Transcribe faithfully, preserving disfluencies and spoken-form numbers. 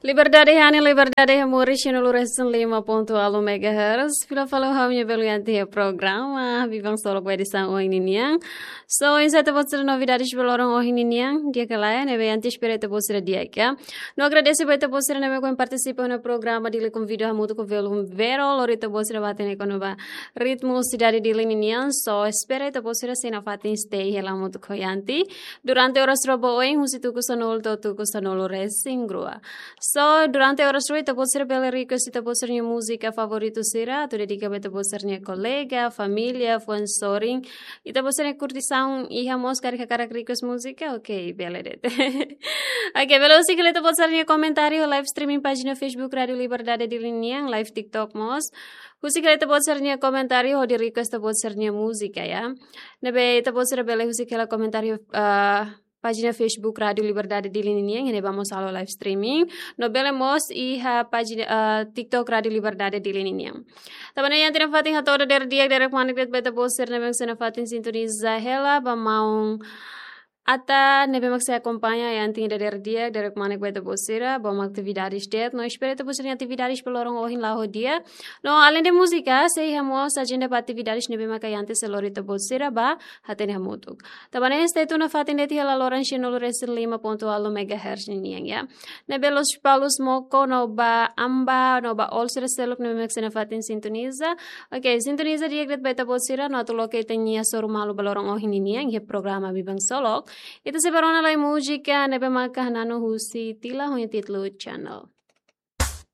Liberdade hanesan, liberdade hamutuk, cento e cinco ponto oito megahertz. Fila fali ho ha'u-nia belun Yanti iha programa Biban Solok ba edisaun ohin ninian. So, oinsá ita-boot sira novidades ba loron ohin ninian, di'ak ka lae, ne'ebé Yanti espera ita-boot sira di'ak ka. No agradese ba ita-boot sira ne'ebé mak partisipa iha programa Dili Konvida hamutuk ho belun Vero, lori ita-boot sira ba hatene kona-ba ritmu sidade Dili ninian. So, espera ita-boot sira sei nafatin stay hela hamutuk ho Yanti durante oras rua ba oin, husi tuku sanulu to'o tuku sanulu-resin-rua. So, durante oras rua ita-boot sira bele request ita-boot sira-nia múzika favoritu sira, atu dedika ba ita-boot sira-nia kolega, família, fuan sorin. Ita-boot sira-nia kurtisaun iha mós karik hakarak request múzika, ok, bele de'it. Ok, bele husik hela ita-boot sira-nia komentáriu live streaming pájina Facebook Rádio Liberdade Dili nian, live TikTok mós. Husik hela ita-boot sira-nia komentáriu hodi request ita-boot sira-nia múzika, ya. Ne'ebé ita-boot sira bele husik hela komentáriu, ah, pájina Facebook Rádio Liberdade Dili nian, iha ne'ebá mós halo live streaming. No bele mós iha pájina, ah, TikTok Rádio Liberdade Dili nian. Tanba ne'e Yanti nafatin hato'o dadeer di'ak, dadeer-manek de'it ba ita-boot sira ne'ebé mak sei nafatin sintoniza hela, ba maun Ata ne'ebé mak sei akompaña Yanti dadeer di'ak, dadeer-manek ba ita-boot sira, ba maun atividades de'it, no espera ita-boot sira-nia atividades ba loron ohin la'o ho di'ak. No, além de múzika, sei iha mós ajenda ba atividades ne'ebé maka Yanti sei lori ita-boot sira ba hatene hamutuk. Tanba ne'e stay tune nafatin de'it iha laloran cento e cinco ponto oito megahertz ninian, ya. Ne'ebé Lospalos, Moco, no ba Amba, no ba Olsira seluk ne'ebé mak sei nafatin sintoniza. Ok, sintoniza di'ak de'it ba ita-boot sira, no atu loke ita-nia hasoru malu ba loron ohin ninian, iha programa Biban Solok. Ita sei bá rona lai múzika ne'ebé maka hananu husi Tila ho nia títulu Channel.